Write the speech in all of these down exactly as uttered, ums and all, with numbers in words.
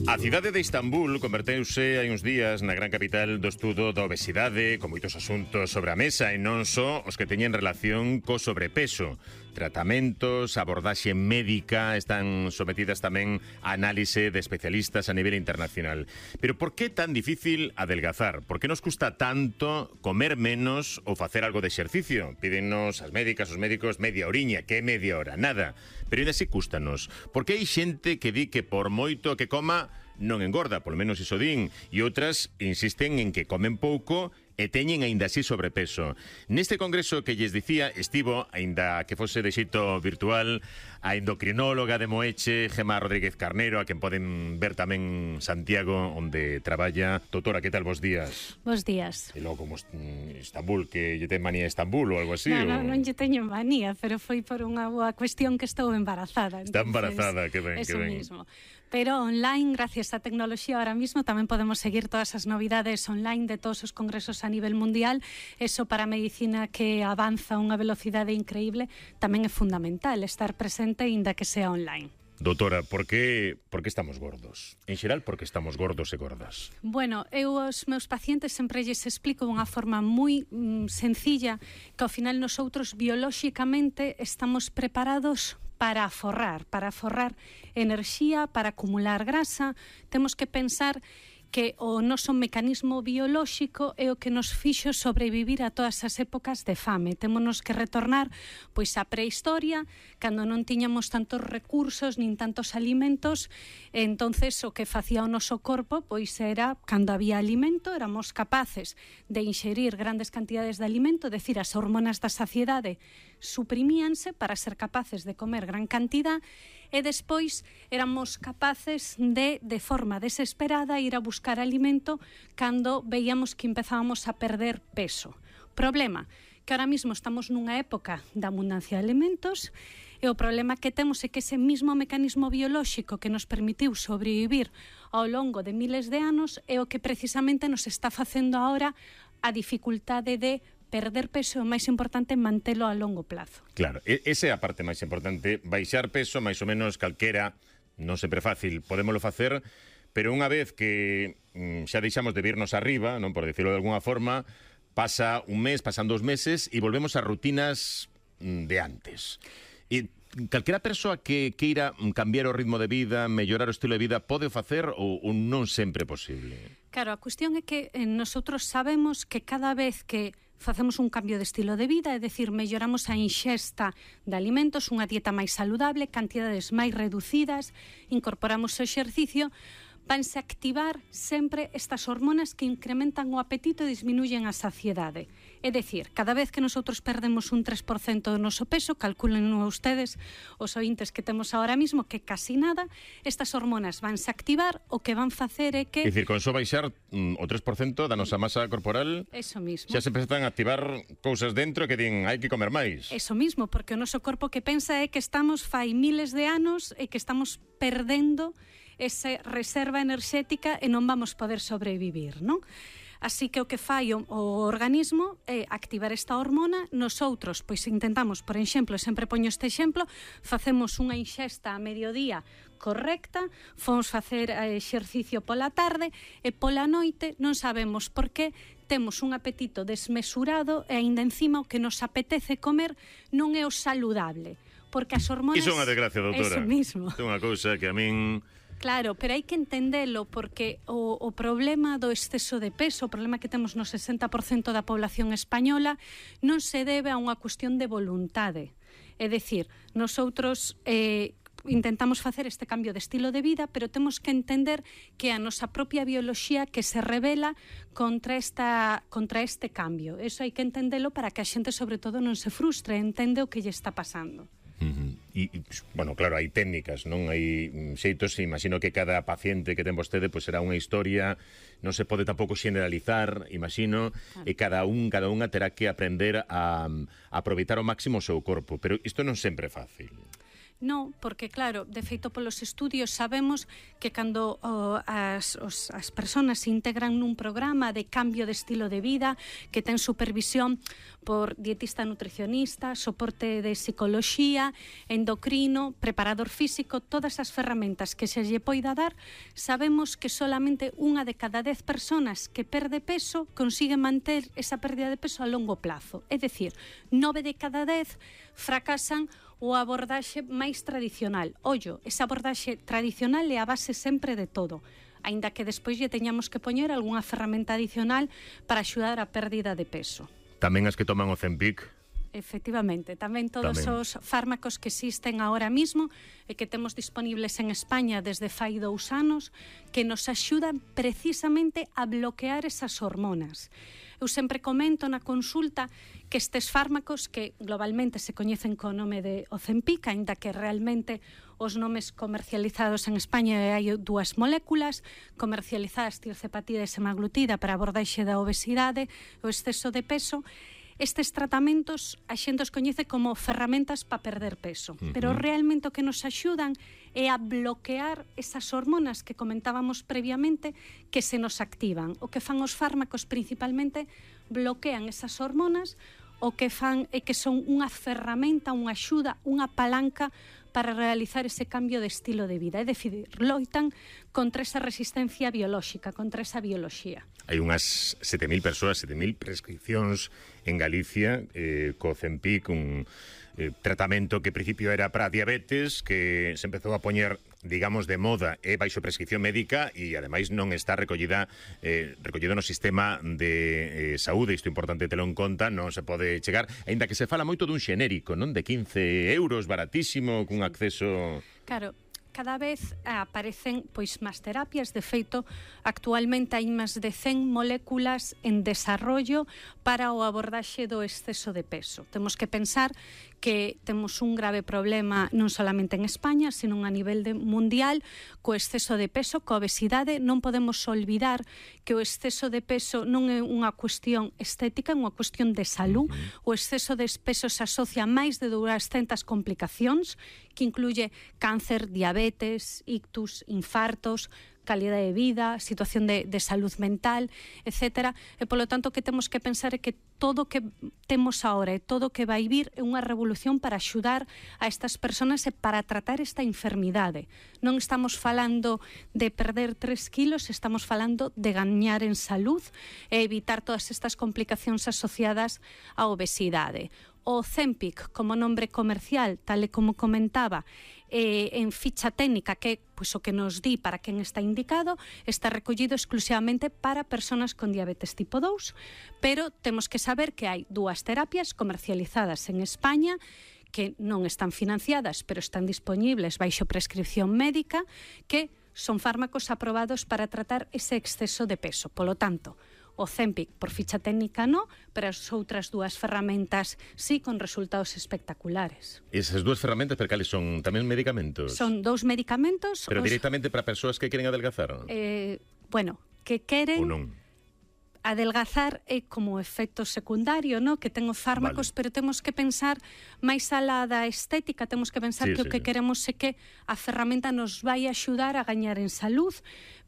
A cidade de Istambul converteuse hai uns días na gran capital do estudo da obesidade, con moitos asuntos sobre a mesa e non só os que teñen relación co sobrepeso. Tratamentos, abordaxe médica están sometidas tamén a análise de especialistas a nivel internacional. Pero por que tan difícil adelgazar? Por que nos custa tanto comer menos ou facer algo de exercicio? Pídennos as médicas, os médicos, media horiña. Que media hora? Nada. Pero ainda así cústanos. Porque hai xente que di que por moito que coma non engorda, polo menos iso din, e outras insisten en que comen pouco e teñen aínda así sobrepeso. Neste congreso que lles dicía, estivo, aínda que fose de xeito virtual, a endocrinóloga de Moeche, Gemma Rodríguez Carnero, a quen poden ver tamén Santiago, onde traballa. Doutora, que tal, bos días? Bos días. E logo como Istambul, que lle ten manía Istambul ou algo así? Non, non, ou... non lle teño manía, pero foi por unha boa cuestión que estou embarazada. Está embarazada, que ben, que ben. Eso mismo. Pero online, gracias á tecnoloxía, ahora mismo tamén podemos seguir todas as novidades online de todos os congresos a nivel mundial. Eso para a medicina que avanza a unha velocidade increíble tamén é fundamental, estar presente inda que sea online. Doutora, por que, por que estamos gordos? En xeral, por que estamos gordos e gordas? Bueno, eu aos meus pacientes sempre lles explico de unha forma moi mm, sencilla que ao final nosotros biolóxicamente estamos preparados para aforrar, para aforrar enerxía, para acumular grasa. Temos que pensar que o noso mecanismo biolóxico é o que nos fixo sobrevivir a todas as épocas de fame. Témonos que retornar pois á prehistoria, cando non tiñamos tantos recursos nin tantos alimentos, e entonces o que facía o noso corpo pois era, cando había alimento, éramos capaces de inxerir grandes cantidades de alimento, é dicir, as hormonas da saciedade suprimíanse para ser capaces de comer gran cantidad, e despois éramos capaces de, de forma desesperada, ir a buscar alimento cando veíamos que empezábamos a perder peso. Problema, que ahora mismo estamos nunha época de abundancia de alimentos, e o problema que temos é que ese mismo mecanismo biolóxico que nos permitiu sobrevivir ao longo de miles de anos é o que precisamente nos está facendo ahora a dificultade de perder peso, é o máis importante mantelo a longo plazo. Claro, esa é a parte máis importante. Baixar peso, máis ou menos calquera, non sempre fácil, podémolo facer, pero unha vez que mm, xa deixamos de virnos arriba, non por decirlo de alguna forma, pasa un mes, pasan dos meses e volvemos a rutinas mm, de antes. E calquera persoa que queira cambiar o ritmo de vida, mellorar o estilo de vida, pode facer ou, ou non sempre é posible? Claro, a cuestión é que eh, nosotros sabemos que cada vez que facemos un cambio de estilo de vida, é dicir, melloramos a inxesta de alimentos, unha dieta máis saludable, cantidades máis reducidas, incorporamos o exercicio, vanse activar sempre estas hormonas que incrementan o apetito e disminuyen a saciedade. É dicir, cada vez que nosotros perdemos un tres por cento do noso peso, calculen ustedes os ointes que temos ahora mismo, que casi nada, estas hormonas vanse activar, o que van facer é que... É dicir, con só baixar mm, o tres por cento da nosa masa corporal, eso mismo, xa se empezan a activar cousas dentro que din, hai que comer máis. Eso mismo, porque o noso corpo que pensa é que estamos fai miles de anos e que estamos perdendo esa reserva enerxética e non vamos poder sobrevivir, non? Así que o que fai o, o organismo é activar esta hormona. Nosoutros, pois intentamos, por exemplo, sempre poño este exemplo, facemos unha inxesta a mediodía correcta, fomos facer exercicio pola tarde e pola noite non sabemos por que temos un apetito desmesurado e aínda encima o que nos apetece comer non é o saludable, porque as hormonas... Iso é unha desgracia, doutora. Eso mismo. É unha cousa que a min... Claro, pero hai que entendelo, porque o, o problema do exceso de peso, o problema que temos no sesenta por cento da población española, non se debe a unha cuestión de voluntade. É dicir, nosotros eh, intentamos facer este cambio de estilo de vida, pero temos que entender que a nosa propia bioloxía que se revela contra, esta, contra este cambio. Eso hai que entendelo para que a xente, sobre todo, non se frustre, entende o que lle está pasando. Uh-huh. E, bueno, claro, hai técnicas, non hai xeitos, imagino que cada paciente que ten vostede pois será unha historia, non se pode tampouco generalizar, imagino, claro. E cada un, cada unha terá que aprender a, a aproveitar ao máximo o seu corpo, pero isto non sempre é fácil. No, porque claro, de feito polos estudios sabemos que cando oh, as, os, as persoas se integran nun programa de cambio de estilo de vida, que ten supervisión por dietista nutricionista, soporte de psicoloxía, endocrino, preparador físico, todas as ferramentas que se lle poida dar, sabemos que solamente unha de cada dez persoas que perde peso consigue manter esa pérdida de peso a longo plazo. É dicir, nove de cada dez fracasan o abordaxe máis tradicional. Ollo, esa abordaxe tradicional é a base sempre de todo, aínda que despois lle teñamos que poñer algunha ferramenta adicional para axudar a pérdida de peso. Tamén as que toman o Ozempic. Efectivamente, tamén todos tamén. Os fármacos que existen ahora mismo e que temos disponibles en España desde fai dous anos, que nos axudan precisamente a bloquear esas hormonas. Eu sempre comento na consulta que estes fármacos, que globalmente se coñecen co nome de Ozempic, aínda que realmente os nomes comercializados en España hai dúas moléculas comercializadas, tirzepatida e semaglutida, para a abordaxe da obesidade, o exceso de peso. Estes tratamentos a xente os coñece como ferramentas para perder peso, uh-huh. pero realmente o que nos axudan é a bloquear esas hormonas que comentábamos previamente que se nos activan. O que fan os fármacos principalmente bloquean esas hormonas, o que fan é que son unha ferramenta, unha axuda, unha palanca para realizar ese cambio de estilo de vida. É dicir, loitan contra esa resistencia biolóxica, contra esa bioloxía. Hai unhas sete mil persoas, sete mil prescripcións en Galicia eh, co Ozempic, un eh, tratamento que en principio era para diabetes, que se empezou a poñer, digamos, de moda e baixo prescripción médica e ademais non está recollida eh, recollido no sistema de eh, saúde. Isto é importante telo en conta, non se pode chegar, aínda que se fala moito dun xenérico, non, de quince euros, baratísimo, cun acceso... Claro, cada vez aparecen pois máis terapias. De feito, actualmente hai máis de cen moléculas en desarrollo para o abordaxe do exceso de peso. Temos que pensar que temos un grave problema non solamente en España, sino a nivel de mundial co exceso de peso, coa obesidade. Non podemos olvidar que o exceso de peso non é unha cuestión estética, é unha cuestión de salud. O exceso de peso se asocia a máis de doscientas complicacións, que incluye cáncer, diabetes, ictus, infartos, calidade de vida, situación de, de salud mental, etcétera. E, polo tanto, o que temos que pensar é que todo o que temos agora e todo o que vai vir é unha revolución para axudar a estas persoas e para tratar esta enfermidade. Non estamos falando de perder tres kilos, estamos falando de gañar en salud e evitar todas estas complicacións asociadas á obesidade. O Ozempic, como nombre comercial, tal e como comentaba, eh, en ficha técnica, que é pois, o que nos di para quen está indicado, está recollido exclusivamente para persoas con diabetes tipo dous, pero temos que saber que hai dúas terapias comercializadas en España que non están financiadas, pero están disponibles baixo prescripción médica, que son fármacos aprobados para tratar ese exceso de peso. Polo tanto, o Ozempic por ficha técnica no, pero as outras dúas ferramentas sí, con resultados espectaculares. Esas dúas ferramentas, pero cales son? Tamén medicamentos? Son dous medicamentos. Pero os... directamente para persoas que queren adelgazar? Eh, bueno, que queren... Ou non? Adelgazar é como efecto secundario, no? Que ten os fármacos, vale. Pero temos que pensar máis alá da estética, temos que pensar sí, que sí, o que sí. queremos é que a ferramenta nos vai axudar a gañar en salud,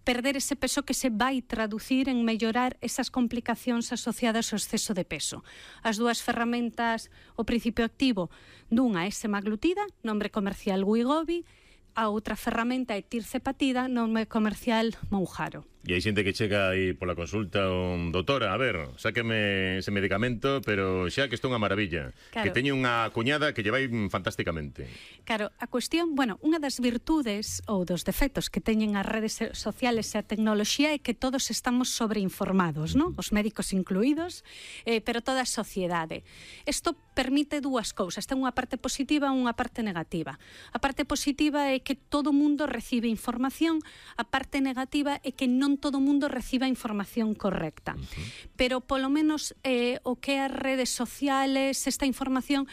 perder ese peso que se vai traducir en mellorar esas complicacións asociadas ao exceso de peso. As dúas ferramentas, o principio activo dunha é semaglutida, nombre comercial Wegovy, a outra ferramenta é tirzepatida, nome comercial Mounjaro. E hai xente que chega aí pola consulta, un doutora, a ver, sáqueme ese medicamento, pero xa que isto é unha maravilla, claro. Que teñe unha cuñada que lle vai fantásticamente. Claro, a cuestión, bueno, unha das virtudes ou dos defectos que teñen as redes sociales e a tecnoloxía é que todos estamos sobreinformados, ¿no? Os médicos incluídos, eh, pero toda a sociedade. Isto permite dúas cousas, ten unha parte positiva e unha parte negativa. A parte positiva é que todo o mundo recibe información, a parte negativa é que non todo o mundo reciba a información correcta. Uh-huh. Pero polo menos eh, o que as redes sociales, esta información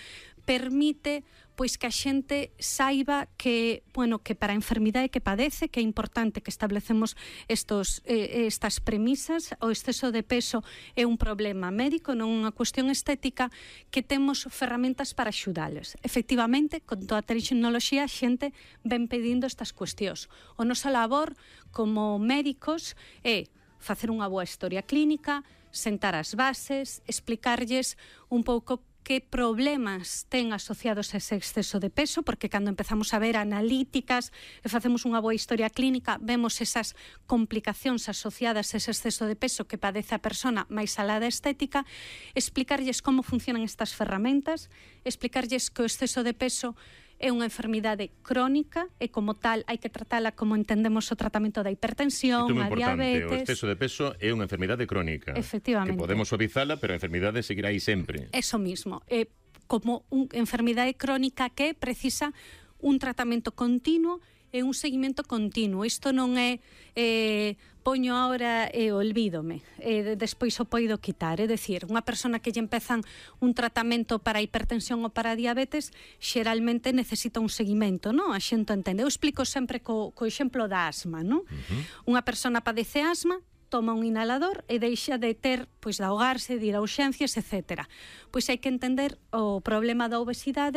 permite pois que a xente saiba que, bueno, que para a enfermidade que padece, que é importante que establecemos estos, eh, estas premisas. O exceso de peso é un problema médico, non unha cuestión estética, que temos ferramentas para axudales. Efectivamente, con toda a tecnoloxía, a xente ven pedindo estas cuestións. O nosa labor como médicos é facer unha boa historia clínica, sentar as bases, explicarlles un pouco que problemas ten asociados a ese exceso de peso, porque cando empezamos a ver analíticas e facemos unha boa historia clínica, vemos esas complicacións asociadas a ese exceso de peso que padece a persona máis alá da estética, explicarlles como funcionan estas ferramentas, explicarlles que o exceso de peso é unha enfermidade crónica e como tal hai que tratala como entendemos o tratamento da hipertensión, a diabetes. O exceso de peso é unha enfermidade crónica. Efectivamente. Que podemos suavizala, pero a enfermidade seguirá aí sempre. Eso mismo. É como unha enfermidade crónica que precisa un tratamento continuo e un seguimento continuo. Isto non é eh, poño ahora e olvídome, e despois o poido quitar. É dicir, unha persona que lle empezan un tratamento para hipertensión ou para diabetes, xeralmente necesita un seguimento, non? A xente entende. Eu explico sempre co, co exemplo da asma, non? Uh-huh. Unha persona padece asma, toma un inhalador e deixa de ter, pois, de ahogarse, de ir a urxencias, etcétera. Pois hai que entender o problema da obesidade